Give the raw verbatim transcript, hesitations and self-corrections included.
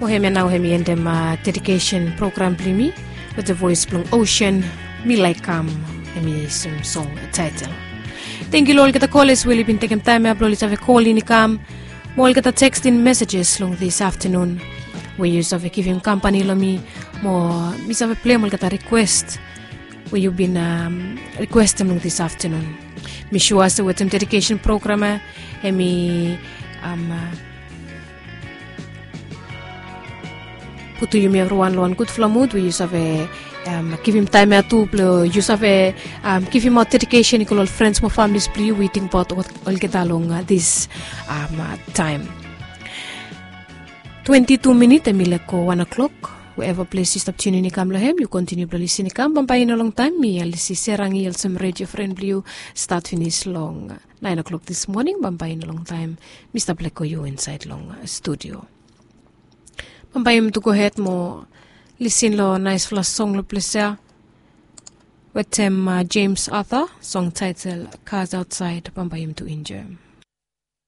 Hemia nao hemi endem dedikesen program blong yumi wetem voes blong Ocean, Mi Laik Kam, hemi sem song taetel. Tangkiu long olgeta koles we oli bin tekem taem ya blong oli save kol in i kam, mo olgeta teksting mesejes long dis aftenun we yu save givim kampani long mi, mo mi save pleim olgeta rikwes we yu bin rikwestem long dis aftenun. Mi sua se wetem dedikesen program ya, hemi putum yumi evriwan long wan gudfala mud we yu save givim taem ya tu blong yu save givimaot dedikesen i go long ol frens mo familis blong yu we i tingbaot olgeta long dis taem. Twenti tu minit hemi laek go wan o'klok. Wherever ples yu stap tiunin i kam long hem, yu kontiniu blong lisin i kam. Bambae i no longtaem mi, Alisi Serangi, olsem redio fren blong yu, stat finis long naen o'klok dis moning. Bambae i no longtaem mi stap lego yu insaed long studio. Bambae yumi tu gohed mo lisin long naesfala song long ples ya wetem James Arthur, song taetel Cars Outside. Bambae yumi tu enjoem.